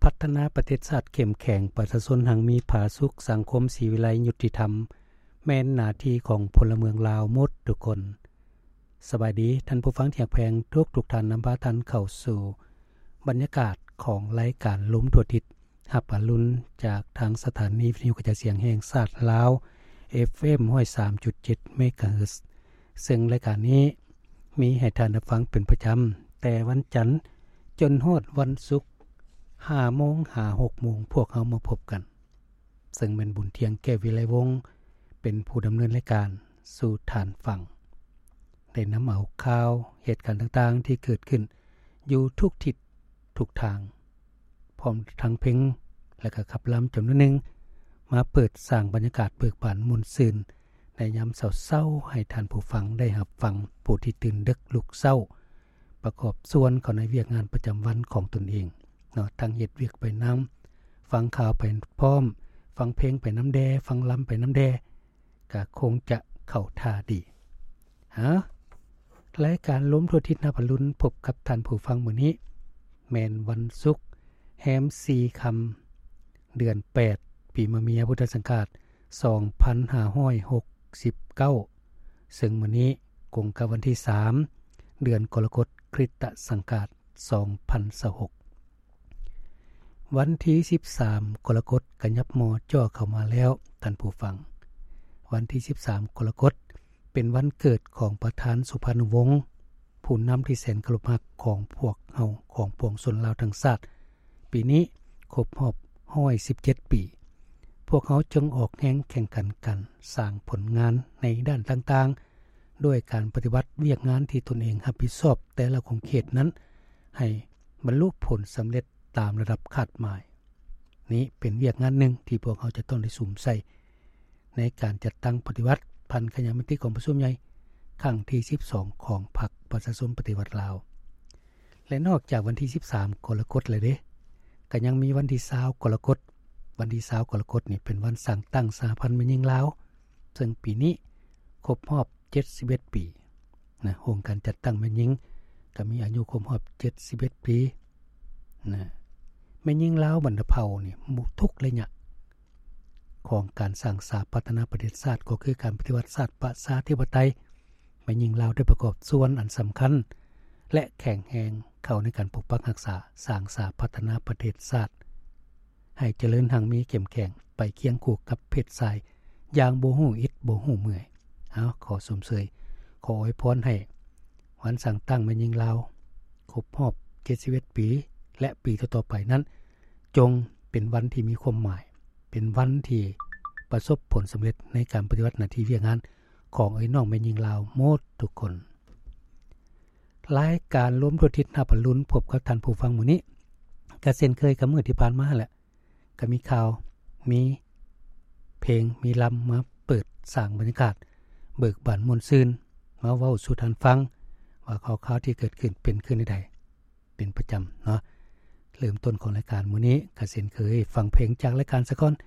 ພັດທະນາປະເທດຊາດເຂັ້ມແຂງ, ປະຊາຊົນຮັ່ງມີຜາສຸກ, ສັງຄົມສີວິໄລຍຸຕິທຳ ແມ່ນໜ້າທີ່ຂອງພົນລະເມືອງລາວໝົດທຸກຄົນ. ສະບາຍດີທ່ານຜູ້ຟັງທີ່ຮັກແພງທຸກໆທ່ານ, ນຳພາທ່ານເຂົ້າສູ່ບັນຍາກາດຂອງລາຍການລົມທົ່ວທິດ ຮັບອະລຸນຈາກທາງສະຖານີວິທະຍຸກະຈາຍສຽງແຫ່ງຊາດລາວ ເອັຟເອັມ ຮ້ອຍສາມຈຸດເຈັດ ເມກາເຮີດ, ເຊິ່ງລາຍການນີ້ມີໃຫ້ທ່ານໄດ້ຟັງເປັນປະຈຳ ແຕ່ວັນຈັນຈົນຮອດວັນສຸກ ຫ້າໂມງຫາຫົກໂມງ ພວກເຮົາມາພົບກັນ. ເຊິ່ງແມ່ນບຸນທຽງ ແກ້ວວິໄລວົງ ເປັນຜູ້ດຳເນີນລາຍການສູ່ທ່ານຟັງ, ໄດ້ນຳເອົາຂ່າວເຫດການຕ່າງໆທີ່ເກີດຂຶ້ນຢູ່ທຸກທິດທຸກທາງ ພ້ອມທັງເພງ ແລະ ກະຂັບລຳຈຳນວນໜຶ່ງ ມາເປີດສ້າງບັນຍາກາດເບີກບານມ່ວນຊື່ນໃນຍາມເຊົ້າໆ ໃຫ້ທ່ານຜູ້ຟັງໄດ້ຮັບຟັງ, ຜູ້ທີ່ຕື່ນເດິກລຸກເຊົ້າ ປະກອບສ່ວນເຂົ້າໃນວຽກງານປະຈຳວັນຂອງຕົນເອງເນາະ, ທັງເຮັດວຽກໄປນຳ, ຟັງຂ່າວໄປພ້ອມ, ຟັງເພງໄປນຳແດ່, ຟັງລຳໄປນຳແດ່ ກະຄົງຈະເຂົ້າທ່າດີ. ເອົ້າ ລາຍການລົມທົ່ວທິດຮັບອະລຸນພົບກັບທ່ານຜູ້ຟັງມື້ນີ້ ແມ່ນວັນສຸກ ແຮມສີ່ຄ່ຳ ເດືອນແປດ ປີມະເມຍ ພຸດທະສັງກາດ ສອງພັນຫ້າຮ້ອຍຫົກສິບເກົ້າ ເຊິ່ງມື້ນີ້ກົງກັບວັນທີສາມ ເດືອນກໍລະກົດ ຄຣິສຕະສັງກາດ ສອງພັນຊາວຫົກ. ວັນທີສິບສາມ ກໍລະກົດ ກະຫຍັບມໍ່ຈ່ອເຂົ້າມາແລ້ວທ່ານຜູ້ຟັງ. ວັນທີສິບສາມ ກໍລະກົດ ເປັນວັນເກີດຂອງປະທານສຸພານຸວົງ ຜູ້ນຳທີ່ແສນເຄົາລົບຮັກຂອງພວກເຮົາ, ຂອງປວງຊົນລາວທັງຊາດ. ປີນີ້ຄົບຮອບຮ້ອຍສິບເຈັດປີ. ພວກເຮົາຈົ່ງອອກແຮງແຂ່ງຂັນກັນສ້າງຜົນງານໃນດ້ານຕ່າງໆ ດ້ວຍການປະຕິບັດວຽກງານທີ່ຕົນເອງຮັບຜິດຊອບແຕ່ລະຂົງເຂດນັ້ນ ໃຫ້ບັນລຸຜົນສຳເລັດຕາມລະດັບຄາດໝາຍ. ນີ້ເປັນວຽກງານໜຶ່ງທີ່ພວກເຮົາຈະຕ້ອງໄດ້ສຸມໃສ່ ໃນການຈັດຕັ້ງປະຕິບັດພັນຂະຫຍາຍມະຕິກອງປະຊຸມໃຫຍ່ຄັ້ງທີສິບສອງ ຂອງພັກປະຊາຊົນປະຕິວັດລາວ. ແລະ ນອກຈາກວັນທີສິບສາມ ກໍລະກົດແລ້ວເດ ກະຍັງມີວັນທີຊາວ ກໍລະກົດ. ວັນທີຊາວ ກໍລະກົດນີ້ເປັນວັນສ້າງຕັ້ງສະຫະພັນແມ່ຍິງລາວ ເຊິ່ງປີນີ້ຄົບຮອບເຈັດສິບເອັດປີນະ. ອົງການຈັດຕັ້ງແມ່ຍິງກະມີອາຍຸຄົບຮອບເຈັດສິບເອັດປີນະ. ແມ່ຍິງລາວບັນດາເຜົ່ານີ້ ທຸກໄລຍະ ຂອງການສ້າງສາພັດທະນາປະເທດຊາດ ກໍຄືການປະຕິວັດຊາດປະຊາທິປະໄຕ, ແມ່ຍິງລາວໄດ້ປະກອບສ່ວນອັນສຳຄັນ ແລະ ແຂງແຮງເຂົ້າໃນການປົກປັກຮັກສາ, ສ້າງສາພັດທະນາປະເທດຊາດ ໃຫ້ຈະເລີນຮັ່ງມີເຂັ້ມແຂງ ໄປຄຽງຄູ່ກັບເພດຊາຍຢ່າງບໍ່ຮູ້ອິດບໍ່ຮູ້ເມື່ອຍ. ເອົາ ຂໍຊົມເຊີຍ, ຂໍອວຍພອນໃຫ້ ວັນສ້າງຕັ້ງແມ່ຍິງລາວຄົບຮອບເຈັດສິບເອັດປີ ແລະ ປີຕໍ່ໆໄປນັ້ນ ຈົ່ງເປັນວັນທີ່ມີຄວາມໝາຍ, ເປັນວັນທີ່ປະສົບຜົນສຳເລັດໃນການປະຕິບັດໜ້າທີ່ວຽກງານຂອງເອື້ອຍນ້ອງແມ່ຍິງລາວໝົດທຸກຄົນ. ລາຍການລົມທົ່ວທິດຮັບອະລຸນພົບກັບທ່ານຜູ້ຟັງມື້ນີ້ ກະເຊັ່ນເຄີຍກັບມື້ທີ່ຜ່ານມາແຫຼະ. ກະມີຂ່າວ, ມີເພງ, ມີລຳ ມາເປີດສ້າງບັນຍາກາດເບີກບານມ່ວນຊື່ນ, ມາເວົ້າສູ່ທ່ານຟັງວ່າຂ່າວຄາວທີ່ເກີດຂຶ້ນເປັນຄືແນວໃດ ເປັນປະຈຳເນາະ. ເລີ່ມຕົ້ນຂອງລາຍການມື້ນີ້ກະເຊັ່ນເຄີຍ ຟັງເພງຈາກລາຍການສາກ່ອນ,